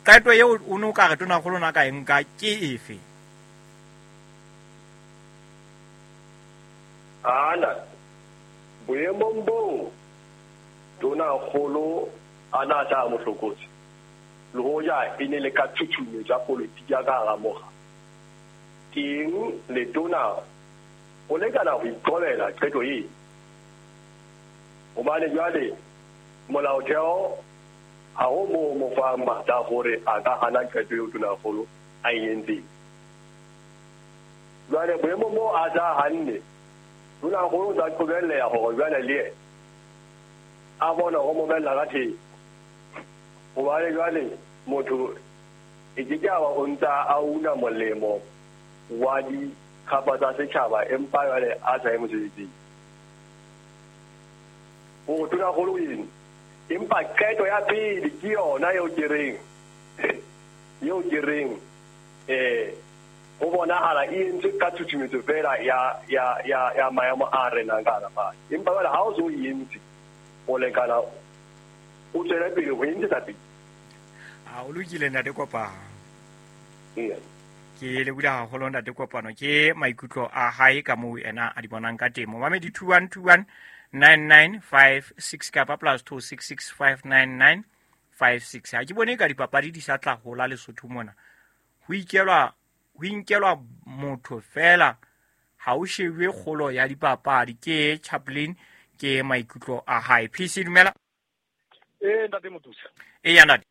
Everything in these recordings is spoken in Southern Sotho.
Qeto eo o ne o ka re tonakgolo na ka e nka ke efe? Ana boemong boo tonakgolo a na sa mo hlokotse, le hoja e ne le ka tshutshumetso ya politiki ya ka hara mokga, teng letona o lekana ho iqobela qeto eo. Hobane jwale molaotheo ha ho moo mo fang matla a hore a ka hana qeto eo tonakgolo a e entseng. Jwale boemong boo a sa hanne, tonakgolo o tla qobelleha hore jwale le yena a bone ho mo bella ka thepa. Hobane jwale motho e ke ke a ba o ntsa a una molemo wa dikgapa tsa setjhaba empa jwale a sa ye mosebetsing. Hore tonakgolo o eng, empa qeto ya pele ke yona eo ke reng eo ke reng ho bonahala e entswe ka tshutshumetso fela ya ya ya ya maemo a renang ka hara fatshe. Empa jwale ha o so e entse, o lekana o tswele pele ho e ntshetsa pele. A o lokile ntate Kopano. Ee. Ke lebohile haholo ntate Kopano, ke maikutlo a hae ka moo ena a di bonang ka teng. Momamedi 2121 9956 kapa plus 266599 56. Ha ke bone ka dipapadi di sa tla hola Lesotho mona. Ho ikelwa, ho inkelwa motho fela, ha o shebwe kgolo ya dipapadi. Ke Chaplin, ke maikutlo a hae. PC dumela. Ntate Motusa. Ya ntate.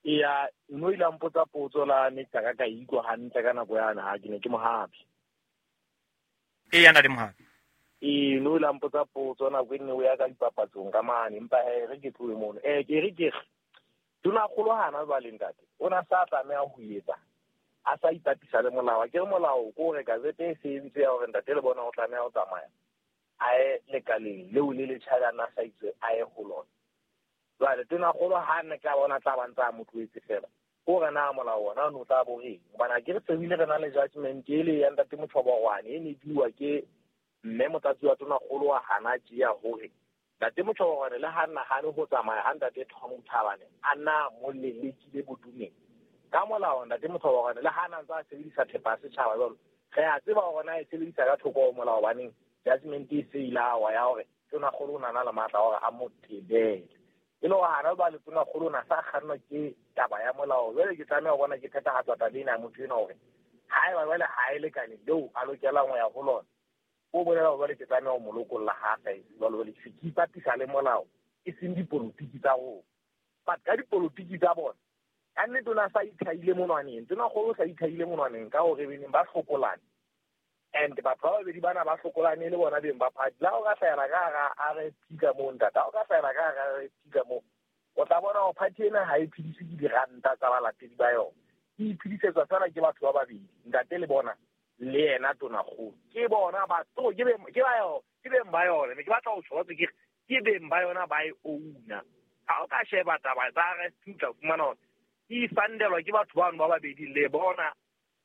Ya, no ile a mpotsa potso la ne ka ka ikutlwa hantle ka nako yana ha ke ne ke mohapi. Ya ntate Mohapi. No ile a mpotsa potso nako e nne o ya ka dipapatsong ka mane, empa he re ke tlohe mono. Ke re ke re tonakgolo hana jwale ntate, o na sa tlameha ho etsa a sa ipapisa le molao. Ke re molao ko hore gazette e se entse ya hore ntate le bona o tlameha ho tsamaya a ye lekaleng leo le letjha le a na sa itse a ye ho lona. Jwale tonakgolo ha ne ka bona tla ba ntse a mo tlohetse fela, ko re na molao ona o ne o tla bo reng? Hobane ha ke re se bile re na le judgment e le ya ntate Motjhoborwane e ne e buiwa ke mme motlatsi wa tonakgolo wa hana tjea hore ntate Motjhoborwane le ha nahane ho tsamaya ha ntate Tom Thabane a na mo lelekile bodumeng. Ka molao ntate Motjhoborwane le ha na ntse a sebedisa thepa ya setjhaba jwalo, re a tseba hore na e sebedisa ka thoko ho molao, hobaneng judgment e se ile a wa ya hore tonakgolo o na na le matla a hore a mo tebele. E le hore hana jwale tonakgolo o na sa kgannwa ke taba ya molao. Jwale ke tlameha ho bona ke phethahatsa taba ena ya motho enwa hore haeba jwale ha e lekane leo a lokelang ho ya ho lona, o bolela hore jwale ke tlameha ho mo lokolla ha a sa etse jwalo. Jwale ke se ke ipapisa le molao, e seng dipolotiki tsa rona. But ka dipolotiki tsa bona, ka nnete o na sa ithaile monwaneng. Tonakgolo o sa ithaile monwaneng ka hore beneng ba hlokolane. And batho ba babedi bana ba hlokolane le bona beng ba party. La o ka hlahela ka hara RFP ka moo, ntate, ha o ka hlahela ka hara RFP ka moo, o tla bona hore party ena ha e phediswe ke diranta tsa balatedi ba yona. E iphedisetswa fela ke batho ba babedi, ntate le bona le yena tonakgolo. Ke bona ba to, ke beng, ke ba yona, ke beng ba yona. Ne ke batla ho tjho batho ke re, ke beng ba yona ba e owner. Ha o ka sheba taba tsa RFP o tla fumana hore e fundelwa ke batho bano ba babedi, le bona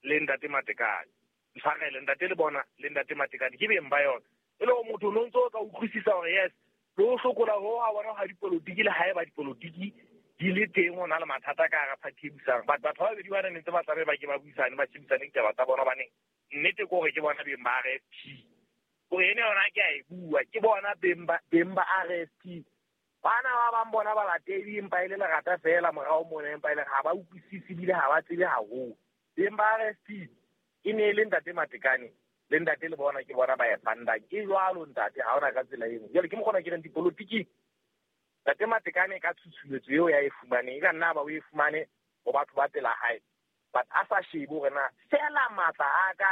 le ntate Matekane. Ntshwarele, ntate le bona le ntate Matekane ke beng ba yona. E le hore motho o no ntso o ka utlwisisa hore yes, le ho hlokola ho ha bona ha dipolotiki le haeba dipolotiki di le teng ho na le mathata ka hara party e busang. But batho ba babedi ba ne ntse ba tlabe ba ke ba buisane, ba shebisane ditaba tsa bona, hobane nnete ke hore ke bona beng ba RFP. Hore ene yona ke a e bua, ke bona beng ba RFP. Bana ba bang bona balatedi empa e le lerata fela morao mona, empa e le ha ba utlwisise ebile ha ba tsebe haholo. Beng ba RFP e ne e le ntate Matekane le ntate le bona ke bona ba e fundang. Ke jwalo ntate, ha hona ka tsela e nngwe. Jwale ke mokgona ke reng dipolotiki, ntate Matekane ka tshutshumetso eo ya e fumaneng, e ka nna ba o e fumane ho batho ba pela hae, but a sa shebe hore na fela matla a ka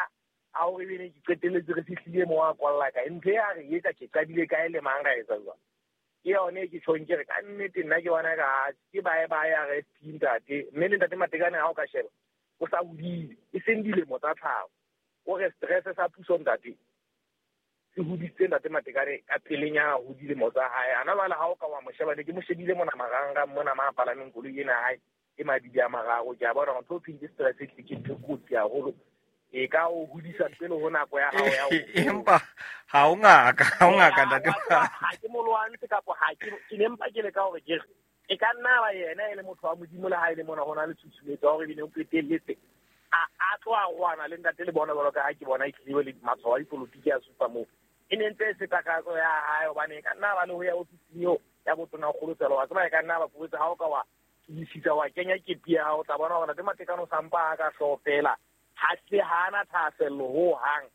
a hore ebe ne ke qetelletse re fihlile moo a kwalla kae. Ntho e a re etsa ke qadile kae le mang ra etsa jwang. Ke yone e ke tjhong ke re ka nnete nna ke bona ka ke bae bae RFP ntate, mme le ntate Matekane ha o ka sheba o sa hodile, e seng dilemo tsa tlhaho. O re stress sa puso ntate se hodisitse ntate Matekane ka pelenyana ho dilemo tsa hae. Ana jwale ha o ka wa mo sheba, ne ke mo shebile mona marangrang mona ma palameng koloi ena ya hae e mabidi a mararo. Ke a bona hore ntho e thweng ke stress e tlile ke ntho e kotsi haholo. E ka o hodisa pele ho nako ya hao ya ho Empa ha o ngaka, ha o ngaka ntate. Ha ke mo lwantshe kapa ha ke, ke ne mpa ke leka hore ke re E ka nna ba yena e le motho wa Modimo le ha e le mona ho na le tshusumetso ya hore ebile o qetelletse a tlo a rwana le ntate le bona jwalo ka ha ke bona e tlile le matshwao a dipolotiki a supa moo. E ne ntse e se takatso ya hae hobane e ka nna ba le ho ya ofising eo ya botonakgolo tsela wa tseba e ka nna ba pobetse ha o ka wa tiisisa wa kenya kepi ya hao o tla bona hore ntate Matekane o sampa a ka hlooho fela ha se hana thahasello ho hang.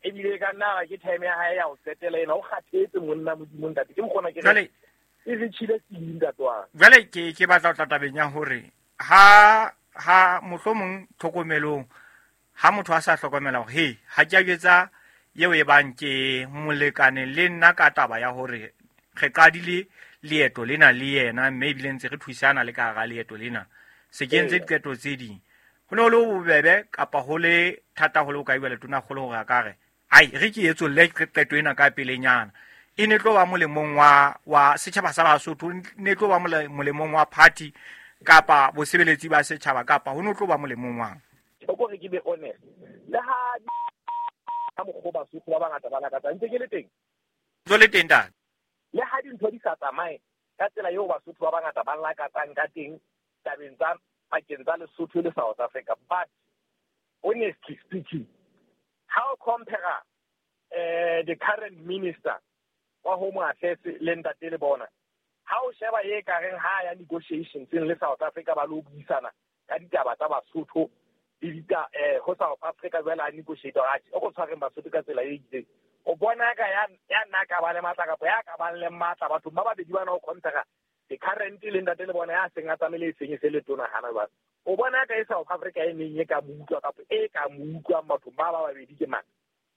Ebile e ka nna ba ke time ya hae ya ho qetela ena o kgathetse monna Modimo ntate ke mokgona ke re e re tjhile tsing ntate wa. Jwale ke batla ho tla tabeng ya hore ha mohlomong tlhokomelong ha motho a sa hlokomela hore he ha ke a jwetsa eo e bang ke molekane le nna ka taba ya hore re qadile leeto lena le yena mme ebile ntse re thusana le ka hara leeto lena se ke entse diqeto tse ding ho ne ho le bobebe kapa ho le thata ho le ho ka bua le tonakgolo hore a ka re ai re ke etsolle qeto ena ka pelenyana e ne tlo ba molemong wa setjhaba sa Basotho, ne tlo ba molemong wa party kapa bosebeletsi ba setjhaba kapa ho ne tlo ba molemong wa o ko re ke be honest le ha ka mokgwa Basotho ba bangata ba lakatsa ntse ke le teng jo le teng ntate le ha dintho di sa tsamaye ka tsela eo Basotho ba bangata ba lakatsang ka teng tabeng tsa pakeng tsa Lesotho le South Africa, but honestly speaking how compare the current minister wa Home Affairs le ntate le bona ha o sheba e ka reng ha ya negotiations le South Africa ba lo buisana ka ditaba tsa Basotho le dita ho South Africa jwale a negotiate a o go tshwareng Basotho ka tsela e itseng o bona ka ya nna ka ba le matla kapa ya ka ba le matla batho ba babedi bana o compare the current le ntate le bona ya seng a tsamaile e seng e se le tona hana ba o bona ka e South Africa e neng e ka mo utlwa kapa e ka mo utlwang batho ba ba babedi ke mang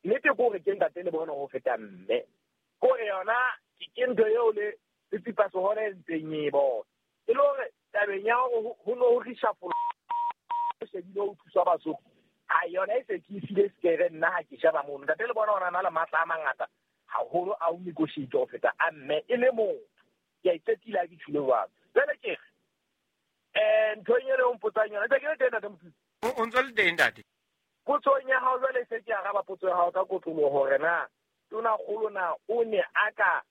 nnete ke hore ke ntate le bona ho feta mme kore yona ke ntho eo le tsipa sehone e ntseng e bona e le hore tabeng ya hore ho no ho reshuffle shebile ho thusa Basotho ha yona e se ke file sekere nna ha ke sheba mono ntate le bona ona na le matla a mangata haholo a ho negotiate ho feta a mme e le motho ke a iqetile ha ke tjhule jwalo. Jwale ke re ntho e le o mpotsang yona ntse ke le teng ntate Mothusi o ntso le teng ntate potsong ya hao jwale se ke araba potso ya hao ka kotloloho hore na tonakgolo na o ne a ka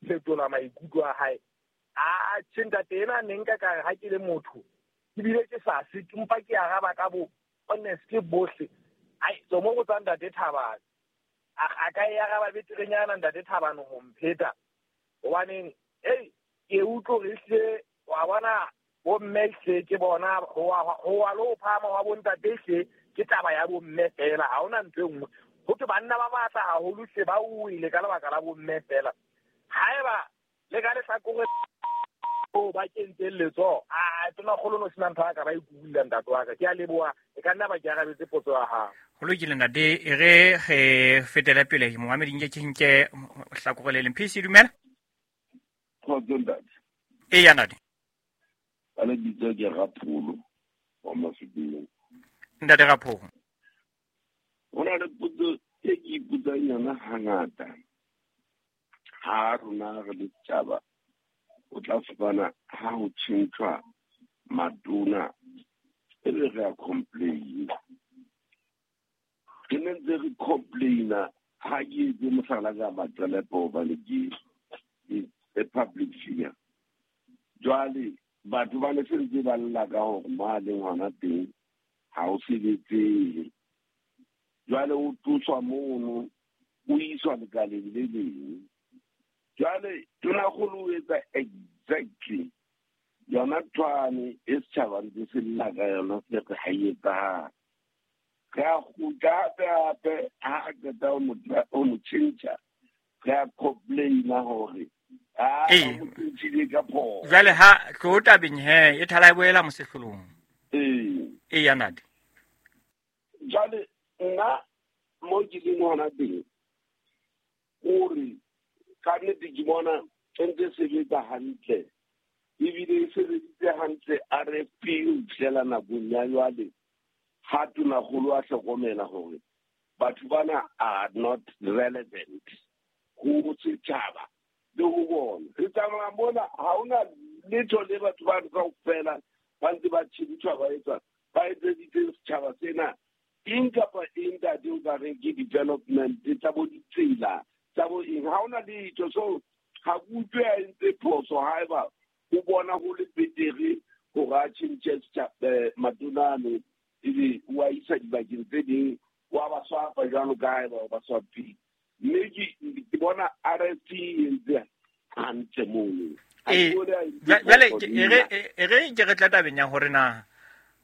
fetola maikutlo a hae a tjhe ntate ena ne nka ka re ha ke le motho ke bile ke sa se ke mpa ke araba ka bo honestly bohle ai so mo go tsa ntate Thabane a ka e araba beterenyana ntate Thabane ho mpheta hobaneng ei ke utlwe re hle wa bona bomme hle ke bona ho wa lo phama wa bontate hle ke taba ya bomme fela ha hona ntho e nngwe ho thwe banna ba matla haholo hle ba wile ka lebaka la bomme fela haeba le ka lehlakore o ba kentseng letsoho a tonakgolo no sena ntho a ka ba ikulla ntate wa ka ke a leboha e ka nna ba ke arabetse potso ya hao. Ho lokile ntate e re re fetele pele momamedi nke ke nke hlakore le leng PC dumela Kgotso ntate. Eya ntate. Ka lebitso ke Rapholo wa Mafikeng. Ntate Rapholo. Ho na le potso e ke ipotsang yona hangata ha rona re le setjhaba o tla fumana ha ho tjhentjhwa matona e be re a complain. Re ne ntse re complaina ha ke etse mohlala ka Maqelepo hobane ke a public figure. Jwale batho ba ne se ntse ba lla ka hore mo a leng hona teng ha o sebetsehe. Jwale o tloswa mono o iswa lekaleng le leng. Jwale tonakgolo o etsa exactly yona thwane e setjhaba ntse se lla ka yona se re ha e etsahale. Re a kgutla hape hape ha a qeta ho mo tjhentjha re a complaina hore a mo tjhentjhile ka phoso. Jwale ha tlo tabeng he e thala e boela mosehlolong. Ee ya ntate. Jwale nna mo ke leng hona teng hore ka nnete ke bona e ntse sebetsa hantle ebile e sebeditse hantle RFP ho fihlela nakong ya jwale ha tonakgolo a hlokomela hore batho bana are not relevant ho setjhaba le ho bona. Re tsamaya mona ha hona letho le batho ba kaofela ba ntse ba tjhentjhwa ba etsa ba etseditse setjhaba sena eng kapa eng ntate o ka reng ke development tsa bo ditsela tsa bo eng ha hona letho. So ha ke utlwe a entse phoso haeba O bona ho le betere hore a tjhentjhe matona ano, ebe o a isa dibakeng tse ding, wa ba swapa jwalo ka ha eba o ba swapile. Mme ke bona RFP e entse hantle mono. Jwale e re ke re tla tabeng ya hore na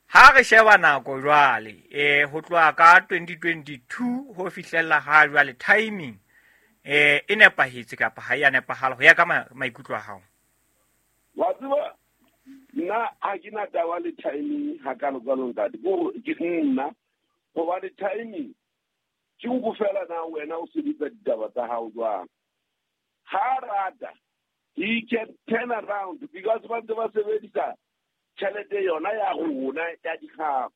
ha re sheba nako jwale, ho tloha ka 2022 ho fihlella ha jwale, timing e nepahetse kapa ha e a nepahala ho ya ka maikutlo a hao? Wa tseba, nna ha ke na taba le timing hakalo-kalo, ntate. Ke nna hobane timing ke nko fela na wena o sebetsa ditaba tsa hao jwang. Ha rata, he can turn around, because ba ntse ba sebedisa tjhelete yona ya rona ya dikgafa.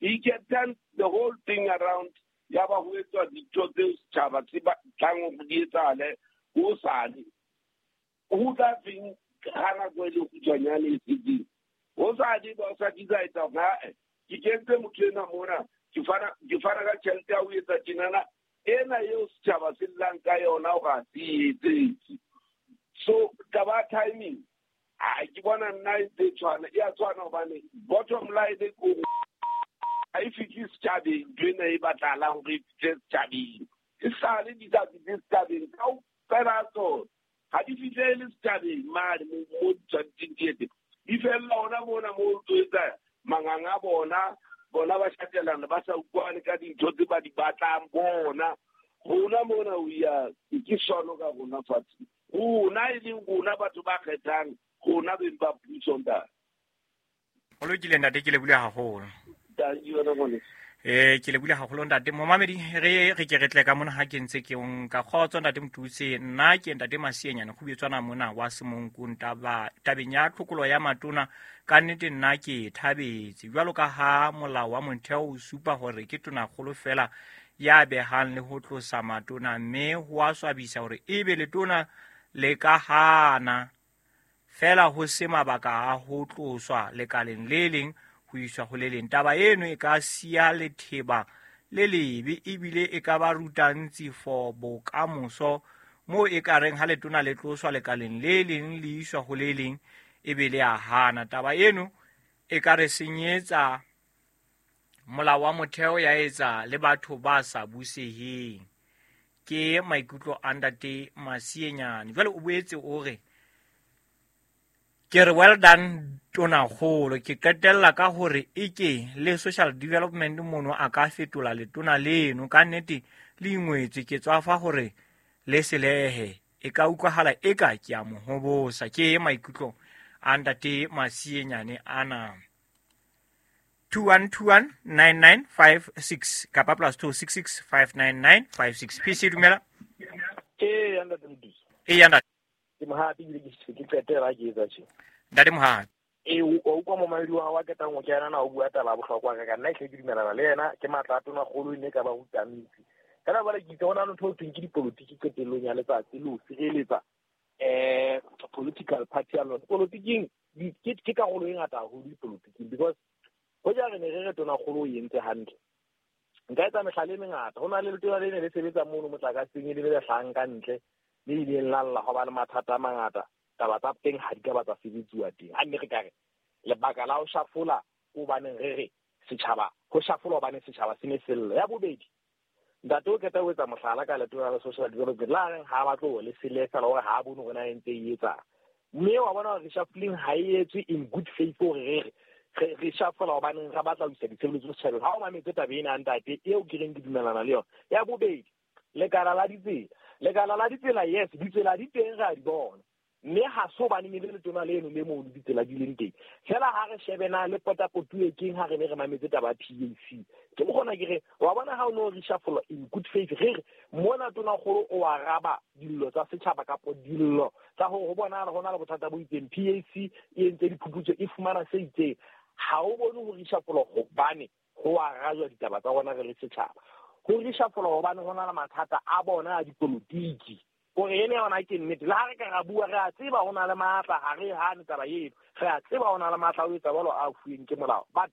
He can turn the whole thing around, ya ba ho etswa dintho tseo setjhaba se batlang hore di etsahale hosane. Ho tla feng ha nako e le kgutshwanyane e setseng hosane, ba o sa decide hore ae, ke kentse motho ena mona, ke fana ka tjhelete ya ho etsa tjenana, ena eo setjhaba se llang ka yona hore ha se etsetse. So taba timing, a ke bona nna e ntse e tshwana, e a tshwana, hobane bottom line ke hore ha e fihle setjhabeng ntho ena e batlahalang hore e fihle setjhabeng. E sale di sa fihle setjhabeng kaofela tsona, ha di fihlele setjhabeng mane mo di tshwanetseng di etse, di fella hona mona mo tlo etsa manganga a bona. Bona ba shatelana, ba sa utlwane ka dintho tse ba di batlang bona. Rona mona we are ke sono ka rona fatshe, rona e leng rona batho ba kgethang, rona beng ba puso, ntate. Ho lokile, ntate, ke lebohile haholo. Ke lebohile haholo, ntate. Momamedi, re ke re tle ka mona ha ke ntse ke nka kgotso, ntate Motuse. Nna ke ntate Masienyane Kgubetswana mona wa Semonkong. Tabeng ya tlhokolo ya matona, ka nnete nna ke thabetse, jwalo ka ha molao wa motheo o supa hore ke tonakgolo fela ya behang le ho tlosa matona, mme ho a swabisa hore ebe letona le ka hana fela ho se mabaka a ho tloswa lekaleng le leng ho iswa ho le leng. Taba eno e ka siya letheba le lebe, ebile e ka ba ruta ntsi for bokamoso, moo e ka reng ha letona le tloswa lekaleng le leng le iswa ho le leng, ebe le a hana. Taba eno e ka re senyetsa molao wa motheo, ya etsa le batho ba sa buseheng. Ke maikutlo a ntate Masienyane. Jwale o boetse o re, ke re well done tonakgolo. Ke qetella ka hore eke le social development mono a ka fetola letona leno, ka nnete le ingwetswe, ke tswafa hore le selehe, e ka utlwahala eka ke a mo hobosa. Ke maikutlo a ntate Masienyane ana. 21219956 kapa +266 59956. PC, dumela. Ee, ntate Motuse. Ee, ntate. Ke Mohapi, ebile ke qetela ke etsa tje. Ntate Mohapi. Ee, o utlwa momamedi wa ketang ho kena na o bua taba ya bohlokwa ka nna, ehlile ke dumelana le yena. Ke matla a tonakgolo e ne ka ba rutang metsi. Fela jwale ke itse ho na le ntho e thweng ke dipolotiki qetellong ya letsatsi, le ho sireletsa political party ya lona. Polotiking ke karolo e ngata haholo dipolotiking, because hoja re ne re re tonakgolo o entse hantle, nka etsa mehlala e mengata. Ho na le letona le ne le sebetsa mono motlakaseng, e le le hlahang ka ntle, le ileng la lla ho ba le mathata a mangata. Taba tsa teng ha di ka ba tsa sebetsiwa teng. Ha nne re ka re lebaka la ho shafola ke hobaneng, re re setjhaba ho shafola hobane setjhaba se ne se lla. Ya bobedi, ntate o qeta ho etsa mohlala ka letona la social development, la reng ha ba tlo le sele fela hore ha a bone hore na e ntse e etsang, mme wa bona hore reshuffling ha e etswe in good faith, hore re reshuffle hobaneng re batla ho isa ditshebeletso setjhabeng. Ha o mametse taba ena, ntate, eo ke reng ke dumelana le yona. Ya bobedi, lekala la ditsela, lekala la ditsela, yes, ditsela di teng, re a di bona, mme ha se hobaneng e le letona leno le mono ditsela di leng teng. Fela ha re shebe na le potapotuwe keng ha re ne re mametse taba ya PAC, ke mokgona ke re wa bona ha o no reshuffle in good faith, re re mona tonakgolo o araba dillo tsa setjhaba kapo dillo tsa hore ho bonahala ho na le bothata bo itseng, PAC e entse diphuputso, e fumana se itseng. Ha o bone ho reshuffle hobane ho arajwa ditaba tsa rona re le setjhaba, ho reshuffle hobane ho na le mathata a bona a dipolotiki, hore ene yona ke nnete. Le ha re ka ra bua, re a tseba ho na le matla, ha re hane taba eno, re a tseba ho na le matla o etsa jwalo a fuweng ke molao, but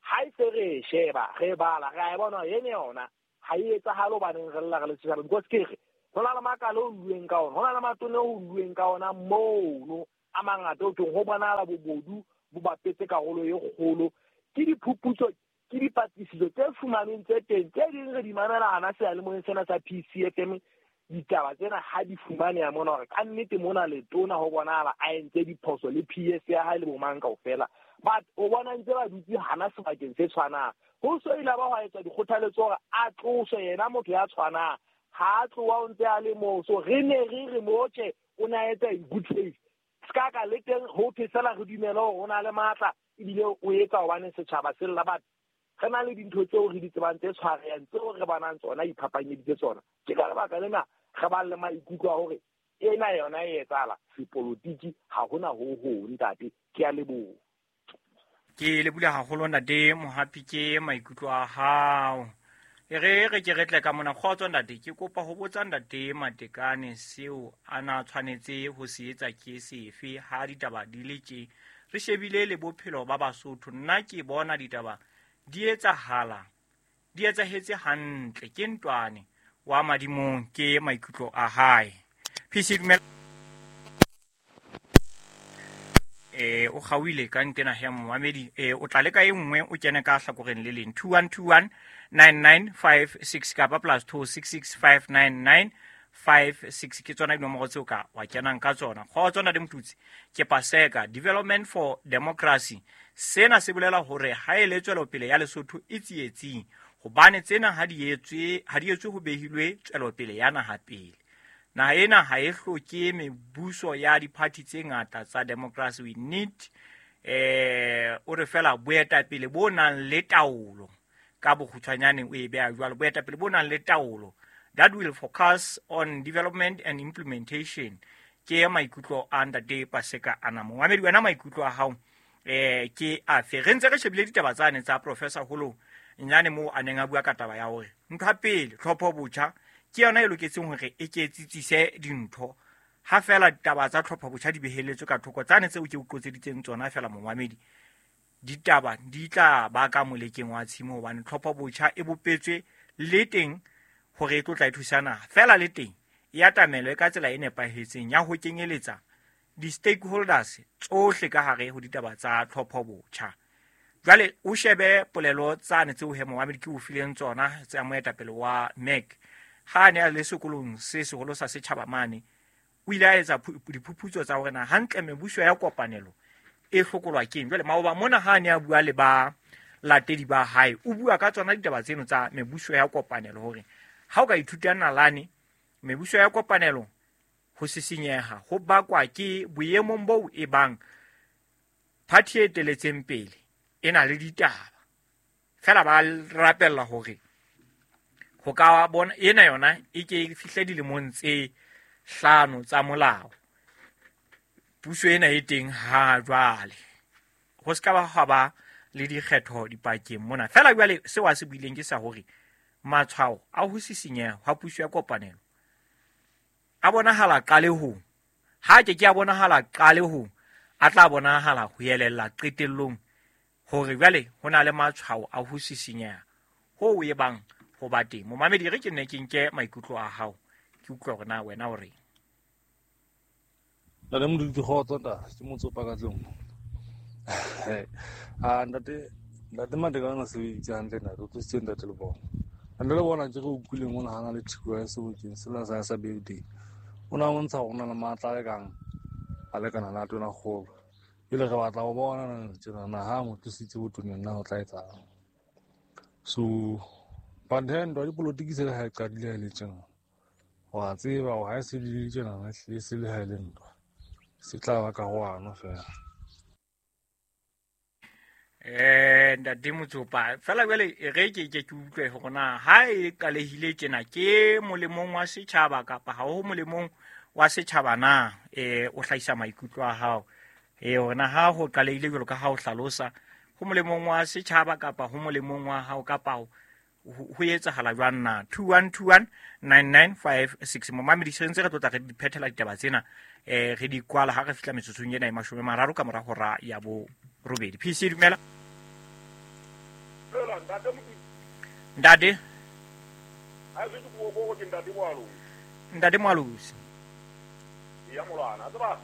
ha e se re e sheba, re bala, re a e bona ene yona ha e etsahale hobaneng re lla re le setjhaba, because ke re ho na le makala o lluweng ka ona, ho na le matone o lluweng ka ona mono. a mangata o thong ho bonahala bobodu bo bapetse karolo e kgolo. Ke diphuputso, ke dipatlisiso tse fumanweng tse teng, tse ding re di mamela hana seyalemoyeng sena sa PCFM. Ditaba tsena ha di fumaneha mona hore ka nnete mona letona ho bonahala a entse diphoso le PS ya hae le bomang kaofela, but o bona ntse ba dutse hana sebakeng se tshwanang. Ho so ile ba hwa etswa dikgothaletso hore a tloswe yena motho ya tshwanang, ha a tloha o ntse a le moo. So re ne re re motjhe o na etsa in good faith, ska ka le teng ho thwe fela re dumele hore o na le matla ebile o etsa hobane setjhaba se lla. Batho re na le dintho tseo re di tsebang tse tshwarehang tseo re bonang tsona iphapanyeditse tsona. Ke ka lebaka lena re bang le maikutlo a hore ena yona e etsahala sepolotiki, ha hona ho hong ntate. Ke a leboha. Ke lebohile haholo ntate Mohapi ke maikutlo a hao. E re re ke re tle ka mona. Kgotso ntate, ke kopa ho botsa ntate Matekane seo a na tshwanetse ho se etsa ke sefe ha ditaba di le tje. Re shebile le bophelo ba Basotho, nna ke bona ditaba di etsahala, di etsahetse hantle, ke ntwane wa madimong, ke maikutlo a hae. PC dumela. O kgaohile ka ntena ya momamedi. O tla leka e nngwe o kene ka hlakoreng le leng. 2121 9956 kapa +266 599 56 ke tsona dinomoro tseo ka wa kenang ka tsona. Kgotso ntate Motutsi, ke Paseka Development for Democracy. Sena se bolela hore ha e le tswelopele ya Lesotho e tsietsing, hobane tsena ha di etswe ho behilwe tswelopele ya naha pele. Naha ena ha e hloke mebuso ya diphathi tse ngata tsa democracy. We need o re fela boetapele bo nang le taolo. Ka bokgutshwanyane o e beha jwalo, boetapele bo nang le taolo that will focus on development and implementation. Ke maikutlo a ntate Paseka ana. Momamedi wena maikutlo a hao ke afe? Re ntse re shebile ditaba tsane tsa Professor Holo Nyane moo a neng a bua ka taba ya hore ntho ya pele tlhopho botjha ke yona e loketseng hore e ke tsitsise dintho. Ha fela ditaba tsa tlhopho botjha di beheletswe ka thoko tsane tseo ke o qotseditseng tsona fela momamedi, ditaba di tla ba ka molekeng wa tshimo, hobane tlhopho botjha e bopetswe le teng hore e tlo tla e thusa naha. Fela le teng e atamelwe ka tsela e nepahetseng ya ho kenyeletsa di-stakeholders tsohle ka hare ho ditaba tsa tlhopho botjha. Jwale o shebe polelo tsane tseo he momamedi ke o fileng tsona tsa moetapele wa MEC ha a ne a le sekolong se seholo sa setjhaba mane, o ile a etsa diphuputso tsa hore na hantle mebuso ya kopanelo e hlokolwa keng. Jwale maoba mona ha a ne a bua le ba latedi ba hae, o bua ka tsona ditaba tseno tsa mebuso ya kopanelo, hore ha o ka ithuta nalane mebuso ya kopanelo ho sisinyeha ho bakwa ke boemong boo e bang party e eteletseng pele e na le ditaba. Fela ba rapella hore ho ka bona ena yona e ke e fihle dilemong tse 5 tsa molao. Puso ena e teng ha jwale, ho ska ba ha ba le dikgetho dipakeng mona. Fela jwale seo a se buileng ke sa hore matshwao a ho sisinyeha ha puso ya kopanelo a bonahala qalehong, ha ke a bonahala qalehong, a tla bonahala ho elella qetellong hore jwale ho na le matshwao a ho sisinyeha ho e bang ho ba teng. Momamedi, re ke nne ke nke maikutlo a hao, ke utlwe hore na wena o reng. Ntate Modudi, kgotso ntate, ke motsopa ka tlung. Ntate Matekane o sebeditse hantle ntate, o tlositse ntate le bona. Ntate le bona ke re utlwileng o nahana le thiko ya sebokeng sena sa building. O na bontsha hore o na le matla a lekang a lekana le a tonakgolo. Jwale re batla ho bona tjena ha mo tlositse botoneng na ho tla etsang. So but then ntwa dipolotiki se le ha e qadile ha e le tjena, wa tseba hore ha e se le tjena e se le ha e le ntwa, se tla ba karohano fela. Ntate Motsopa, fela jwale re ke ke utlwe hore na ha e qalehile tjena ke molemong wa setjhaba kapa ha ho molemong wa setjhaba na? O hlahisa maikutlo a hao hore na ha ho qalehile jwalo ka ha o hlalosa, ho molemong wa setjhaba kapa ho molemong wa hao kapa ho etsahala jwang na? 2121 9956. Momamedi, se ntse re tlotla re di phethela ditaba tsena, re di kwala ha re fihla metsotsong ena e 30 ka mora hora ya 8. PC dumela. Ntate. Ntate Moalosi. Ya molwana, tseba.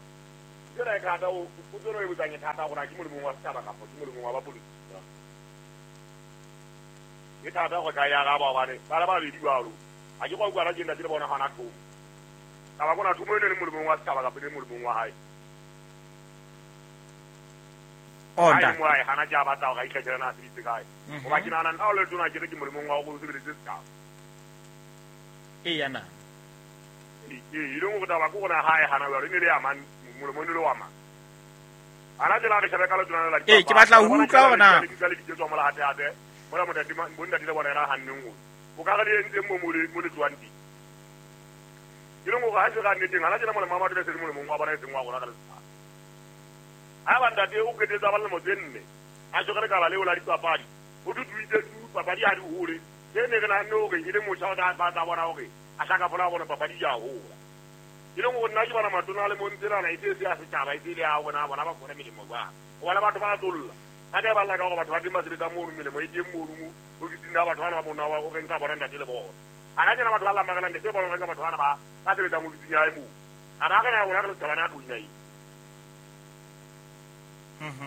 Ntho e thata o potso e botsang e thata gore a ke molemong wa setšhaba kapa ke molemong wa bapolitiki. E thata go ka ya ga ba bane ba le babedi jalo. A ke kwa utlwa ke ntate le bona gona thomo. Taba kona thomo e ne le molemong wa setšhaba kapa e ne molemong wa hae. Onda. Mo hae hana ja batla go ikgethela na sebitse kae. Goba ke nahana nna o le tona ke re ke molemong wa go sebeletse setšhaba. E yana. E leng gore taba ke gona hae hana jalo e ne le ya mang molemong le wa mang. Ana tsela re shebe ka letona la Ee, ke batla ho utlwa hore na le diketso mola hate hate. Mola motati bontate le bona ra hanneng go. O ka re le entse mo mo le tswang teng. Ke leng gore ha se ga nneteng ana tsela molemo wa batho le se molemong wa bona e seng wa rona ka setšhaba. Ha ba ntate o qetetse ba lemo tse nne a tshwere lekala leo la dipapadi o duduitse tu papadi ha di hole ke ne re nahanne hore e le motjha o tla batla bona hore a hlaka fola bona papadi ya hola. Ke leng gore nna ke bona matona a le mo ntselana e se ya setšhaba e se le ya bona bona ba kgone melemo jwang. Gobane batho ba tsolla ga ke ba lla ka gore batho ba teng ba sebetsa mono melemo e teng mono mo ofising ya batho bana ba mona wa o reng ka bona ntate le bona. Ana tsena batho ba lla makalante se bona reng ka batho bana ba ba sebetsang ofising ya hae moo. A ba re na rona re le setšhaba na tlo ina eng.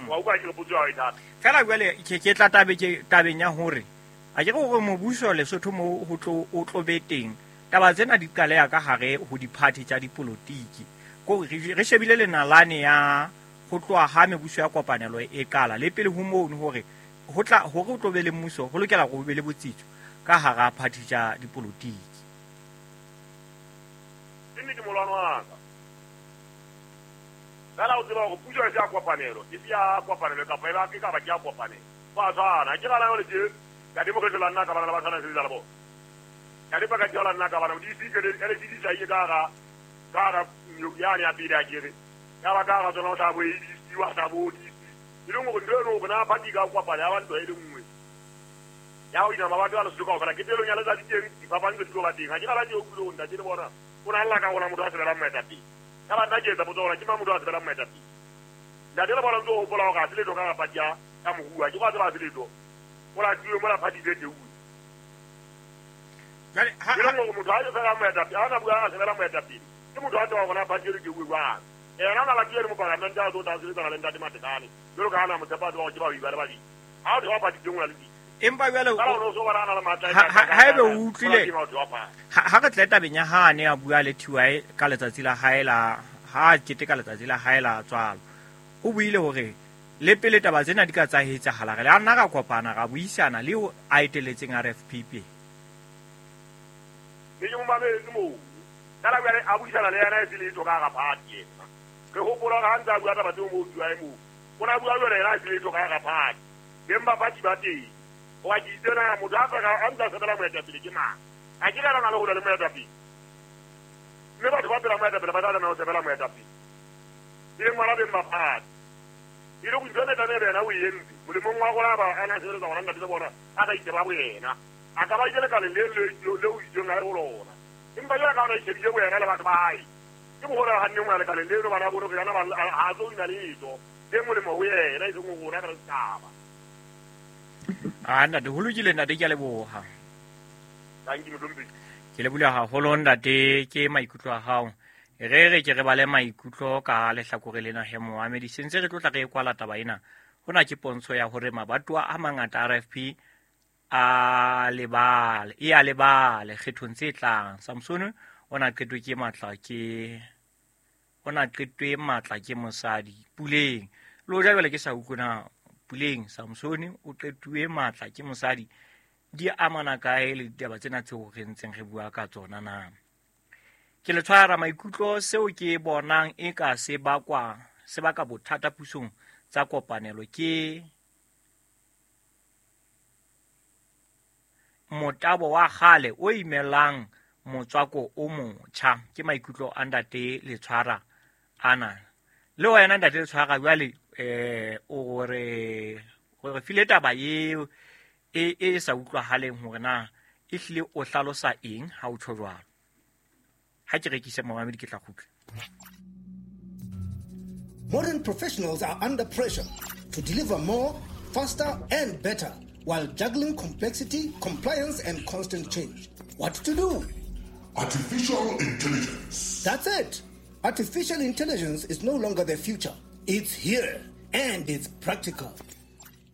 Wa utlwa ke re potso ya hao e thata. Fela jwale ke tla tabe ke tabeng ya hore a ke gore mobuso Lesotho mo ho tlo o tlo be teng taba tsena di qaleha ka hare ho di-party tsa dipolotiki. Ko re shebile lenalane ya ho tloha ha mebuso ya kopanelo e qala le pele ho mono hore ho tla hore o tlo be le mmuso ho lokela hore ho be le botsitso ka hara party tsa dipolotiki. Ke nnete molwano wa ka. Fela o tseba hore puso e se ya kopanelo, e se ya kopanelo kapa e ba ke ka ba ke ya kopanelo. Ba tshwana, ke gana jwale tje ka democracy la nna ka bana le ba tshwana sebetsa le bona. Ka di paka tjela nna ka bana di se ke le di sa ka ga ka ga ya ne ya pele a kere. Ya ba ka ga tsona o tla bo e di wa tla bo di. E leng gore ntho eno bona party ka kopana ya ba ntho e le nngwe. Ya o ina mabatho a Lesotho kaofela ke telong ya letsatsi teng dipapadi tse di tlo ba teng. Ha ke gana ke o kulo ntate le bona. O na lla ka gona motho a sebelang moetapele. Ka ba nna ke etsa potso gore ke mang motho a sebelang moetapele. Ntate le bona ntse o hopola hore ha se letho ka ga party ya moruo. Ke go a tseba ha se letho. O latuwe mola party tse teuwe. Jwale ha ke leng motho a sebelang moetapele, ha na bua a sebelang moetapele. Ke motho a tseba gona party e teuwe jwang. Ena na latuwe le mopalamente a tlo tla sebetsana le ntate Matekane. Jwalo ka ha na motshepa a tseba hore ke ba ba le babedi. Ha o theoha party tse nngwe le di. Empa jwale ha ebe o utlwile ha re tle tabeng ya ha ne a bua le TY ka letsatsi la hae la ha keteka letsatsi la hae la tswalo. O buile hore le pele taba tsena di ka tsa etsahala re le a nna ra kopana ra buisana le o a eteletseng RFP pele. Ke mo mametse moo. Kana jwale a buisana le yena e se letho ka ga party ena. Re hopola hore ha ntse a bua taba tseo moo TY moo. O na bua jwale yena e se letho ka ga party. Beng ba party ba teng. Wa ke itse na motho a ka a ntse a sebela moetapele ke mang. A ke rana le ho le moetapele. Mme batho ba pela moetapele ba tla tlameha ho sebela moetapele. E leng bona beng ba party. E le go ntho e tlameha yena o e entse. Molemong wa rona ba ana sebeletsa gona ntate le bona a ka iteba boyena. A ka ba ile lekaleng le le o itseng a le ho lona. Empa jwale ka ona ishebile boyena le batho ba hae. Ke boholo ha nne ngwana lekaleng leno bana bone hore yena ba ha tlo ina letho. Le molemo ho yena e seng ho rona ka setjhaba. Ah ntate ho lokile ntate ke a leboha. Thank you motompi. Ke leboha haholo ntate ke maikutlo a hao. Re ke re bale maikutlo ka lehlakore lena he moamedi sentse re tlo tla re kwala taba ena. Hona ke pontsho ya hore mabatowa a mangata RFP a lebale e a lebale kgethong tse tlang. Samson o na qetwe ke matla ke o na qetwe matla ke mosadi Puleng. Lo ja jwale ke sa utlwe na Puleng Samson o qetuwe matla ke mosadi di amana kae le ditaba tsena tseo re ntseng re bua ka tsona na. Ke le tshwara maikutlo seo ke bonang e ka se bakwa se baka bothata pusong tsa kopanelo ke motabo wa kgale o imelang motswako o motjha. Ke maikutlo a ntate le tshwara ana. Le wena ntate le tshwara jwale o re file taba eo e sa utlwahaleng hore na e hlile o hlalosa eng ha o tjho jwalo. Ha ke rekise momamedi ke tla kgutla. Modern professionals are under pressure to deliver more, faster and better while juggling complexity, compliance and constant change. What to do? Artificial intelligence. That's it. Artificial intelligence is no longer the future. It's here and it's practical.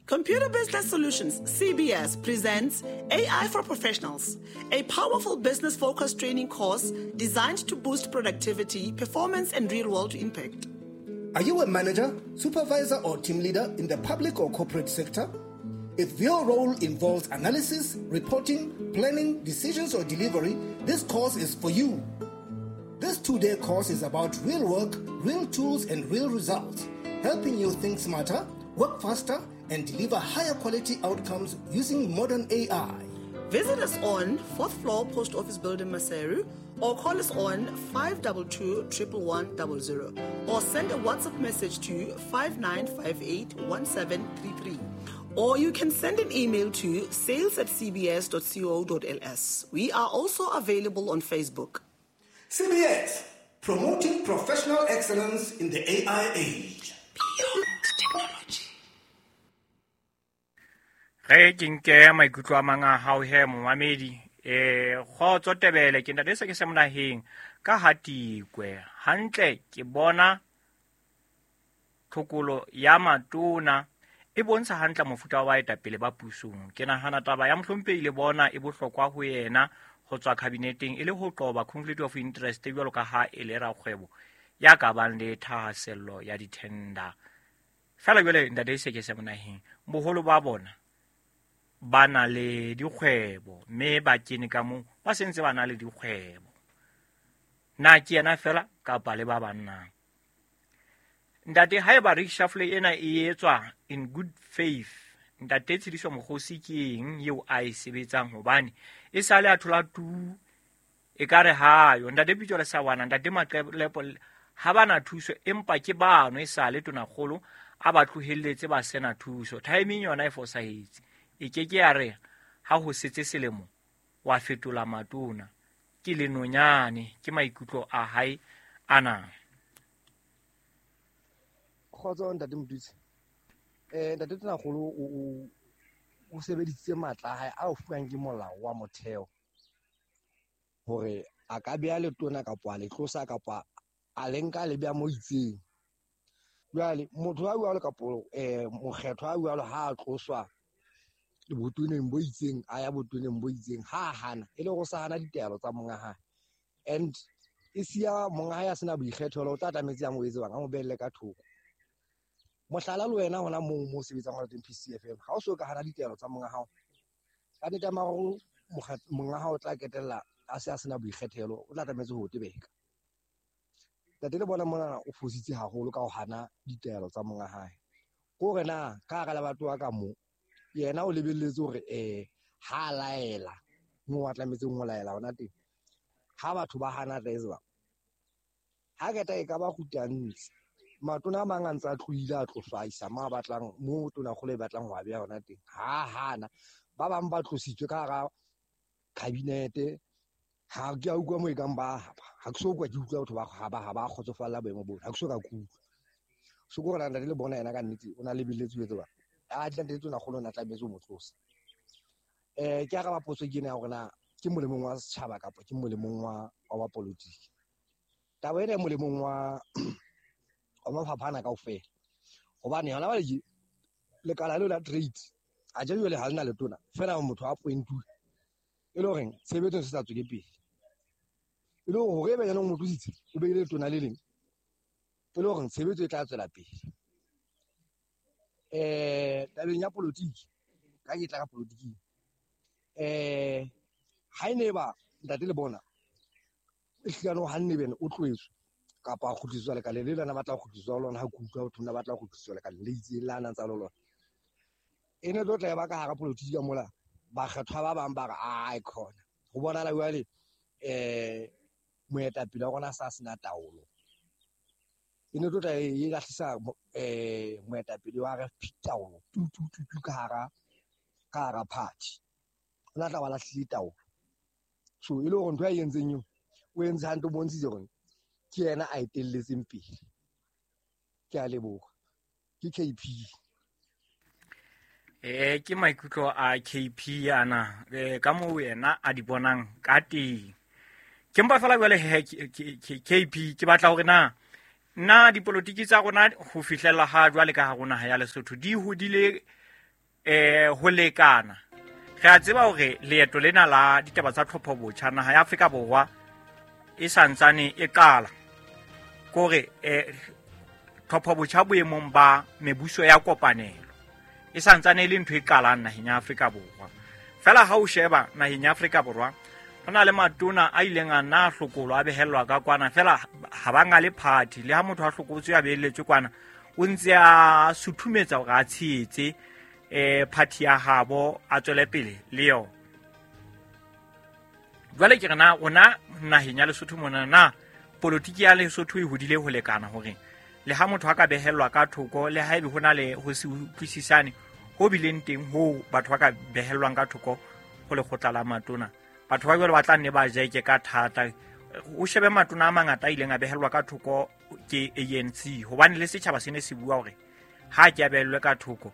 Computer Business Solutions, CBS, presents AI for Professionals, a powerful business focused training course designed to boost productivity, performance, and real world impact. Are you a manager, supervisor, or team leader in the public or corporate sector? If your role involves analysis, reporting, planning, decisions, or delivery, this course is for you. This 2-day course is about real work, real tools, and real results, helping you think smarter, work faster, and deliver higher quality outcomes using modern AI. Visit us on 4th floor Post Office Building, Maseru, or call us on 522 11100 or send a WhatsApp message to 5958 1733. Or you can send an email to sales@cbs.co.ls. We are also available on Facebook. CBS, promoting professional excellence in the AI age. Beyond technology. Ge ke nke maikutlo a mang a hao he momamedi, kgotso Tebele, ke ntate se ke se monaheng ka hatikwe hantle. Ke bona tlhokolo ya matona e bontsha hantle mofuta wa baetapele ba pusong. Ke nahana taba ya mohlomphehi le bona e bohlokwa ho yena ho tswa kabineteng e le ho qoba conflict of interest jwalo ka ha e le rakgwebo ya ka bang le thahasello ya di-tender. Fela jwale ntate se ke se monaheng, boholo ba bona ba na le dikgwebo mme ba kene ka moo ba sentse ba na le dikgwebo. Na ke yena fela kapa le ba bannang? Ntate, haeba reshuffle ena e etswa in good faith, ntate Tshidiso Mokgosi ke eng eo a e sebetsang? Hobane e sale a thola tu e ka re hayo. Ntate Pitso le Sawana, ntate Maqelepo ha bana thuso, empa ke bano e sale tonakgolo a ba tlohelletse ba sena thuso. Timing yona e fosahetse. E ke ke ya re ha ho setse selemo wa fetola matona. Ke lenonyane, ke maikutlo a hae ana. Kgotso ntate Motutsi. Ntate Tonakgolo o sebedisitse matla a hae a o fuwang ke molao wa motheo hore a ka beha letona kapa a le tlosa kapa a le nka le beha mo itseng. Jwale motho a jwalo kapa mokgetho a jwalo ha a tloswa botoneng bo itseng a ya botoneng bo itseng, ha hana e le go sa hana ditaelo tsa monga hae, and e siya monga hae a sena boikgethelo, o tla tlametse a mo etse bang a mo behelle ka thoko. Mohlala le wena hona moo mo sebetsang hona teng PCFM, ha o so ka hana ditaelo tsa monga hao, ka nnete mararo monga hao o tla ketella a se a sena boikgethelo, o tla tlametse ho tebeka. Ntate le bona mona o fositse haholo ka ho hana ditaelo tsa monga hae. Ko re na ka hara le batho ba ka mo yena o lebelletse hore ha laela mo a tlametseng ho laela hona teng, ha batho ba hana tla etsa ha keta e ka ba kgutantse. Matona a mang a ntse a tlohile a tloswa a isa mo a batlang, mo tonakgolo e batlang ho a beha hona teng, ha hana. Ba bang ba tlositswe ka hara kabinete, ha ke a utlwa mo e kang ba ha ke so kwa ke utlwa batho ba ha ba kgotsofalla boemo bona, ha ke so ka kutlwa. So ke hore ntate le bona yena ka nnete o na lebelletse ho etsa ba a ntate Tonakgolo na tlametse ho mo tlosa. Ke araba potso ke ena ya hore na ke molemong wa setjhaba kapa ke molemong wa politiki. Taba ena e molemong wa mafapha ana kaofela, hobane hona jwale lekala leo la trade a je jwale ha lena letona fela motho a appointuwe e le horeng tshebetso se sa tswele pele, e le hore ebe yena o mo tlositse o beile letona le leng e le horeng tshebetso e tla tswela pele. Tabeng ya politiki, ka ke tla ka politiking, ha ene ba ntate le bona e hlano hanne bene o tloetswe kapa a kgutliswa lekaleng le lona batla ho kgutliswa lona, ha ke utlwa batho ba batla ho kgutliswa lekaleng le itseng la nang tsa lona, e ne tlo tla ba ka hara politiki ka mola bakgethwa ba bang ba re ai khona ho bonala jwale moetapele wa rona sa sena taolo, e ne tlo tla e lahlisa moetapele wa RFP taolo tu tu tu tu ka hara party, o tla ba lahlile taolo. So e le hore ntho a entseng eo o entse hantle, o bontshitse hore ke yena a etelletseng pele. Ke a leboha. Ke KP. Ke maikutlo a KP ana, ka moo yena a di bonang ka teng. Ke mpa fela jwale he KP ke batla hore na na dipolotiki tsa rona ho fihlella ha jwale ka hare naha ya Lesotho di hodile ho lekana. Re a tseba hore leeto lena la ditaba tsa tlhopho botjha naha ya Afrika Borwa e santsane e qala. Kore tlhopho botjha boemong ba mebuso ya kopanelo e santsane e le ntho e qalang naheng ya Afrika Borwa. Fela ha o sheba naheng ya Afrika Borwa ho na le matona a ileng a nna a hlokolwa a behellwa ka kwana, fela ha ba ngale party. Le ha motho a hlokotswe a behelletswe kwana, o ntse a suthumetsa hore a tshehetse party ya habo, a tswele pele le yona. Jwale ke re na rona naheng ya Lesotho mona na politiki ya Lesotho e hodile ho lekana hore le ha motho a ka behellwa ka thoko, le haebe ho na le ho se utlwisisane ho bileng teng ho batho ba ka behellwang ka thoko ho lekgotla la matona, batho ba jwale ba tla nne ba jeke ka thata. O shebe matona a mangata a ileng a behellwa ka thoko ke ANC, hobane le setjhaba se ne se bua hore ha ke a behellwe ka thoko.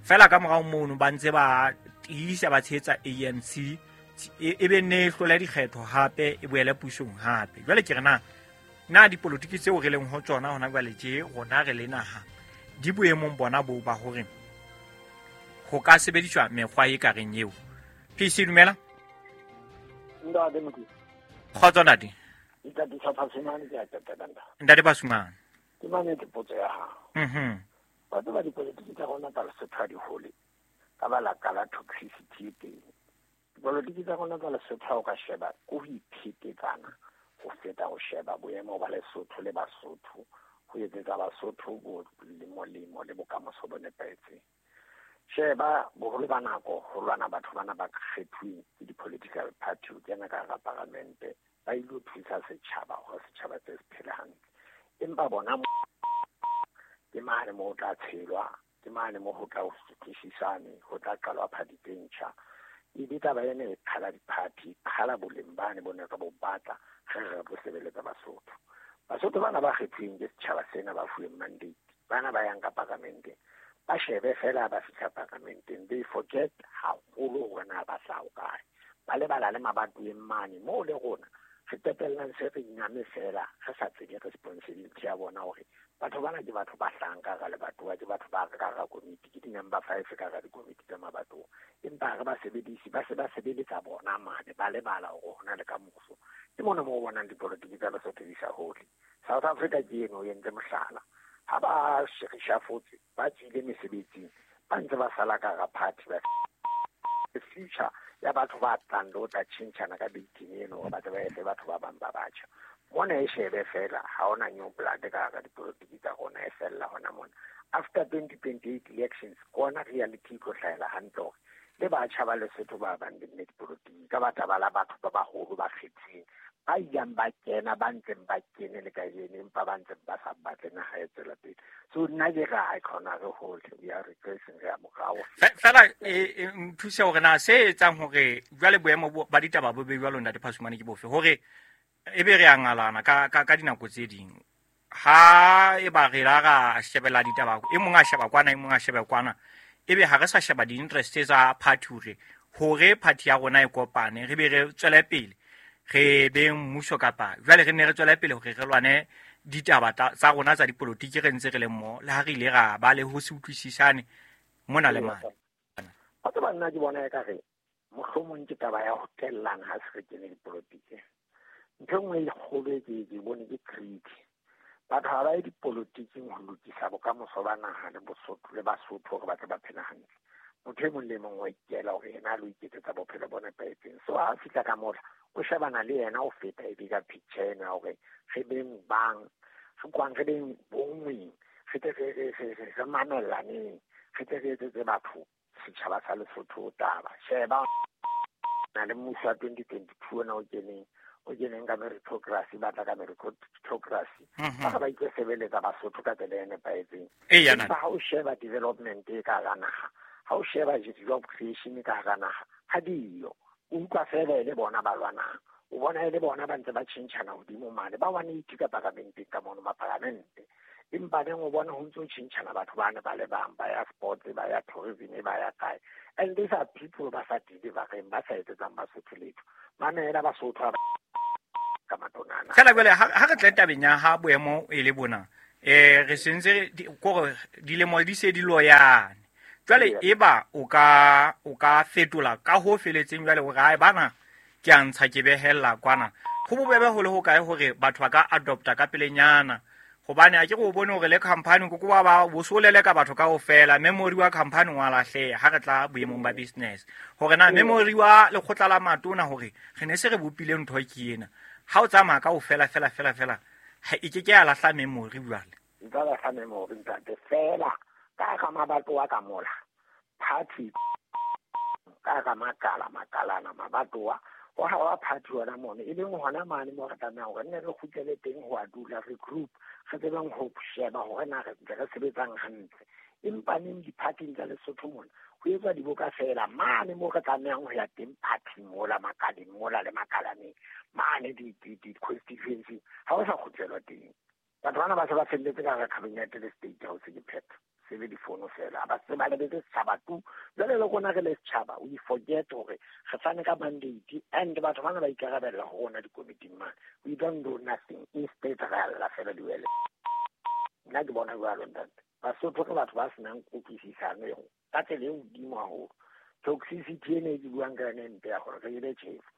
Fela ka morao mono ba ntse ba tiisa ba tshehetsa ANC, e be ne e hlola dikgetho hape e boele pusong hape. Jwale ke re na na dipolotiki tseo re leng ho tsona hona jwale tje rona re le naha di boemong bona bo ba hore ho ka sebediswa mekgwa e ka reng eo. PC dumela. Ntate Mokete. Kgotso ntate. Ntate sa Phasumane ke a qetela ntate. Ntate Phasumane. Ke mametse potso ya hao. Ba tseba dipolotiki tsa rona tsa Lesotho ha di hole ka balaka la toxicity e teng. Dipolotiki tsa rona tsa Lesotho ha o ka sheba ke ho iphetetsana ho feta ho sheba boemo ba Lesotho le Basotho, ho etsetsa Basotho bo molemo le bokamoso bo nepahetseng. Sheba boholo ba nako ho lwana batho bana ba kgethuweng ke di-political party ho kena ka hara paramente, ba ilo thusa setjhaba hore setjhaba se se phele hantle. Empa bona ke mane moo ho tla tshelwa, ke mane moo ho tla ho utlwisisane, ho tla qalwa party tse ntjha. Ebe taba ena e qhala di-party, e qhala boleng bane bo ne re bo batla re re bo sebeletsa Basotho. Basotho bana ba kgethuweng ke setjhaba sena ba fuweng mandate, bana ba yang ka paramenteng, ba shebe fela ba fihla paramenteng, they forget haholo hore na ba hlaha hokae. Ba lebala le mabatoweng mane moo le rona re qetellang se re nyame fela re sa tsebe responsibility ya bona hore batho bana ke batho ba hlahang ka hara lebatowa, ke batho ba ka hara komiti, ke di-number 5 ka hara dikomiti tsa mabatowa. Empa ha re ba sebedise, ba se ba sebeletsa bona mane, ba lebala hore ho na le kamoso. Ke mona moo o bonang dipolotiki tsa Lesotho di sa hole. South Africa ke eno e entse mohlala. Ha ba reshafotse, ba tswile mesebetsing, ba ntse ba sala ka hara party, ba future ya batho ba tlang le ho tla tjhentjhana ka beiting eno hore ba tle ba efe batho ba bang ba batjha. Mona e shebe fela, ha hona new blood ka hara dipolotiki tsa rona, e fella hona mona. After 2028 elections, ke ona reality e tlo hlahela hantle hore le batjha ba Lesotho ba bang le dipolotiki ka batla ba la batho ba baholo ba kgethileng, ba ilang ba kena, ba ntseng ba kene le kajeno, empa ba ntseng ba sa batle naha e tswela pele. So nna ke re ha e kgona re hole, we are regressing, re ya morao. Fela nthuse hore na se etsang hore jwale boemo ba ditaba bo be jwalo Ntate Phasumane ke bofe, hore ebe re a ngalana ka dinako tse ding. Ha eba re la ra shebela ditaba, e mong a sheba kwana, e mong a shebe kwana, ebe ha re sa sheba di-interest tsa party hore party ya rona e kopane, re be re tswele pele, re be mmuso kapa jwale re ne re tswele pele hore re lwane ditaba tsa rona tsa dipolotiki re ntse re le mmoho, le ha re ile ra ba le ho se utlwisisane mona le mane. Wa tseba nna ke bona ekare mohlomong ke taba ya ho tellana ha se re kene dipolotiki. Ntho e nngwe e kgolo e ke bone ke greed. Batho ha ba ye dipolotiking ho lokisa bokamoso ba naha le Bosotho le Basotho hore ba tle ba phele hantle. Motho e mong le mong wa ikela hore yena a lo iketsetsa bophelo bo nepahetseng. So ha a fihla ka mola, o shebana le yena o feta e bigger picture ena hore re beng bang, re kwang re beng bonngweng, re tle re mamellaneng, re tle re etsetse batho setjhaba sa Lesotho taba. Sheba na le mmuso wa 2022 ona o keneng ka meritocracy, ba tla ka meritocracy. Ba ba itse sebeletsa Basotho ka tsela e nepahetseng. Empa ha o sheba development e ka hara naha, ha o sheba job creation e ka hara naha, ha diyo. O utlwa fela e le bona ba lwanang. O bona e le bona ba ntse ba tjhentjhana hodimo mane, ba 180 ka paramenteng ka mono maparamente. Empa neng o bona ho ntse ho tjhentjhana batho bane ba le bang, ba ya sports, ba ya tourism, ba ya kae. And these are people ba sa delivereng, ba sa etsetsang Basotho letho. Mamela Basotho ha Ka matonana. Fela jwale ha re tle tabeng ya ha boemo e le bona, re sentse kore dilemo di se di loyane. Jwale eba o ka fetola ka ho feletseng jwale hore hae bana ke a ntsha ke behella kwana. Ho bobebe ho le ho kae hore batho ba ka adopta ka pelenyana, hobane a ke go bone hore le company ko ba bo solele ka batho kaofela, memory wa company wa lahleha ha re tla boemong ba business. Hore na memory wa lekgotla la matona hore re ne se re bopile ntho ke ena, ha o tsamaya kaofela fela fela fela, ha e ke ke ya lahla memory jwale. Nka lahla memory ntate fela ka ga mabatowa ka mola party ka ga makala makalana mabatowa ho ha wa party hona mono, e leng hona mane mo re tlamehang hore nne re kgutlele teng ho a dula re group, re tsebeng ho sheba hore na re ntse re sebetsang hantle. Empa neng di-party-ing tsa Lesotho mona ho etswa diboka fela mane mo re tlamehang ho ya teng party-ing mola makaleng mola le makalaneng mane di-constituency ha ho sa kgutlelwa teng. Batho bana ba se ba felletse ka hara cabinet le state house ke phetho, se le difono fela, ba se ba lebetse setjhaba tu. Jwale le rona re le setjhaba we forget hore re fane ka mandate and batho bana ba ikarabella ho rona dikomiting mane. We don't do nothing, instead re alla fela diwele. Nna ke bona jwalo ntate. Basotho ke batho ba senang kutlwisisano eo ka tsela e hodimo haholo. Toxicity ena e ke buang ka yona e mpe ya hore re ile tjhefo.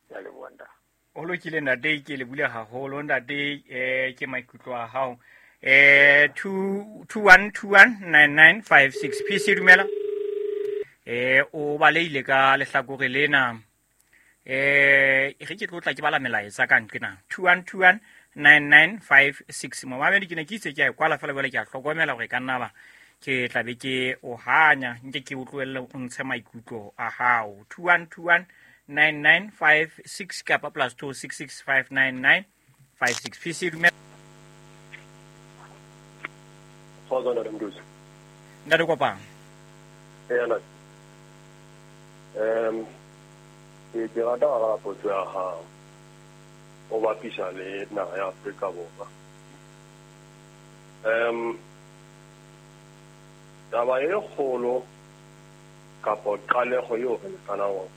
Ke a leboha ntate. O lokile ntate, ke le bule haholo ntate, ke maikutlo a hao. 21219956 PC dumela. O baleile ka lehlakore lena. Re ke tlotla ke bala melaetsa ka nqena. 21219956. Momamedi ke ne ke itse ke a e kwala fela jwale ke a hlokomela hore ka nna ba ke tla be ke o hanya, nke ke utlwelle o ntshe maikutlo a hao. 21219956 kapa +266 59956. PC dumela. Kgotso ntate Mduzi. Ntate Kopang. Eya ntate. Ke rata ho araba potso ya hao o bapisa le naha ya Afrika Borwa. Taba e kgolo kapo qaleho eo re lekanang